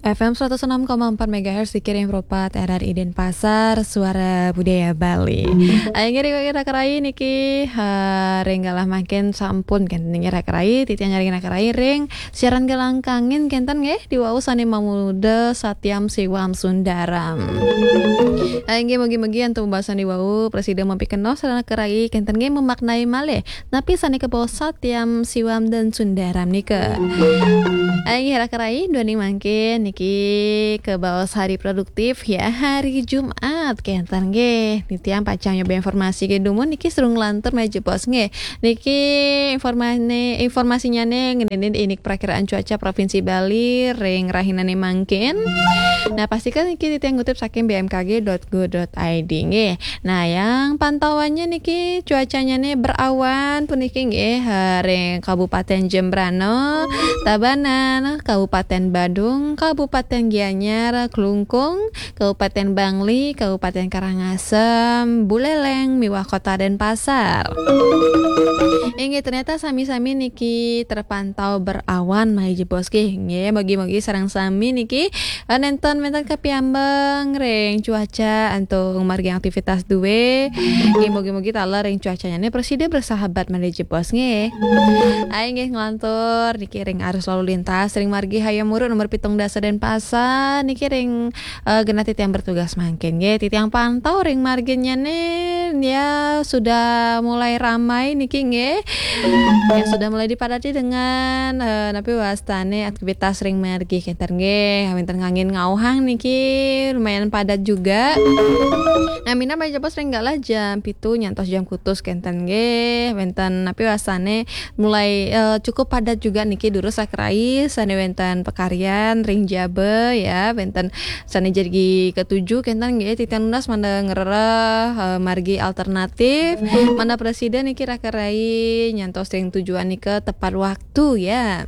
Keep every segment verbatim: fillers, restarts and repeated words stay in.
F M seratus enam koma empat megahertz, dikirim Propat R R I Denpasar, Suara Budaya Bali. Ayo ngiring raka rai niki, ha, ring galah mangkin sampun kenten niki raka rai, titiang nyaring raka rai ring siaran galah kangin kenten nggih, diwau sane mamuda Satyam Siwam Sundaram. Ayo nggih, mugi-mugi antuk pembahasan diwau prasida mapikenoh sareng raka rai kenten nggih, memaknai malih napi sane kabaos Satyam Siwam dan Sundaram nika. Inggih raka rai, duaning mangkin niki kabaos hari produktif ya, hari Jumat kenten nggih. Titiang pacang nyoba informasi ke dumun niki sareng nglantur malih jebos nggih. Niki informane informasinyane ngeninin indik perakiraan cuaca Provinsi Bali ring rahinane mangkin. Nah, pastika niki titiang ngutip saking B M K G dot go dot I D nggih. Nah, yang pantauannya niki cuacanya nih berawan puniki nggih, eh, ring Kabupaten Jembrana, Tabanan, Kabupaten Badung, Kabupaten Gianyar, Klungkung, Kabupaten Bangli, Kabupaten Karangasem, Buleleng, miwah Kota Denpasar. Inggih, ternyata sami-sami niki terpantau berawan malih jebos nggih. Nggih, mugi-mugi sareng sami niki eh, nenten wenten kapiambang ring cuaca antuk margi aktivitas due. Nggih, mugi-mugi taler ring cuacanya nih prasida bersahabat malih jebos nggih. Ayo nggih nglantur niki ring arus lalu lintas ring margi Hayam Wuruk nomor pitung dasa Denpasar niki ring, eh, genah titiang bertugas mangkin nggih. Titiang pantau ring marginya nih ya sudah mulai ramai niki nggih. Ya, sudah mulai dipadati dengan, eh, napi wastane aktivitas ring margi kenten nggih. Wenten kangin ngauhang niki lumayan padat juga. Nah, minab malih jebos ring galah jam pitu nyantos jam kutus kenten nggih. Wenten napi wastane mulai, eh, cukup padat juga niki durus raka rai sane wenten pakaryan ring jaba ya. Wenten sane jagi katuju kenten nggih, titiang nunas mangda ngrereh, eh, margi alternatif, mangda prasida niki raka rai nyantos ring tujuan nika tepat waktu ya.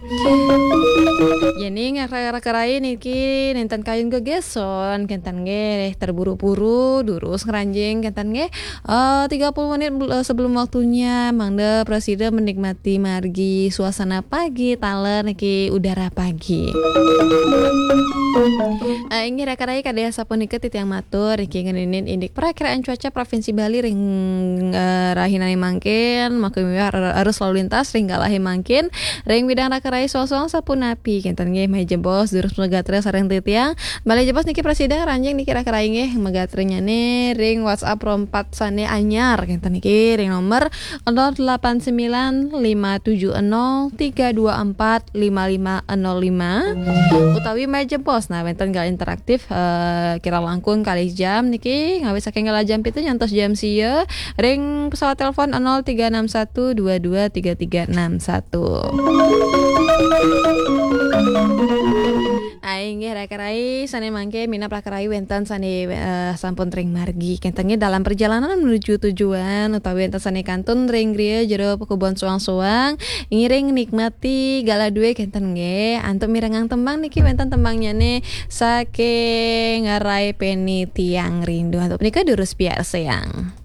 Yening raka rai niki nenten kayun gegeson kenten nggih, terburu-buru durus ngranjing kenten nggih. Eh, tiga puluh menit bel-, eh, sebelum waktunya, mangda prasida menikmati margi suasana pagi, taler niki udara pagi. Eh, inggih raka rai, kadi asapunika titiang matur, niki ngeninin indik perakiraan cuaca Provinsi Bali ring, eh, rahinane mangkin, maka miwah ar-, arus lalu lintas ring galahe mangkin, ring widang raka rai sosong sapunapi, kenten nggih, malih jebos, durus magatra sareng titiang, malih jebos niki prasida ngranjing niki raka rai nggih, magatranyane ring WhatsApp Pro empat sane anyar, kenten niki ring nomor nol delapan sembilan lima tujuh nol tiga dua empat lima lima nol lima, utawi malih jebos, nah, wenten galah interaktif, eh, kirang langkung kalih jam niki, ngawit saking galah jam pitu nyantos jam sia, ring pesawat telepon nol tiga enam satu dua dua tiga tiga enam satu. Ayo nggih raka rai, sane mangke minab raka rai wenten sane, eh, sampun ring margi. Kenten nggih dalam perjalanan menuju tujuan utawi wenten sane kantun ring griya jero pakubon soang-soang, ngiring nikmati galah due kenten nggih. Antuk mirengang tembang niki wenten tembangnyane saking Rai Peni Tiang Rindu. Antuk punika durus piarsayang.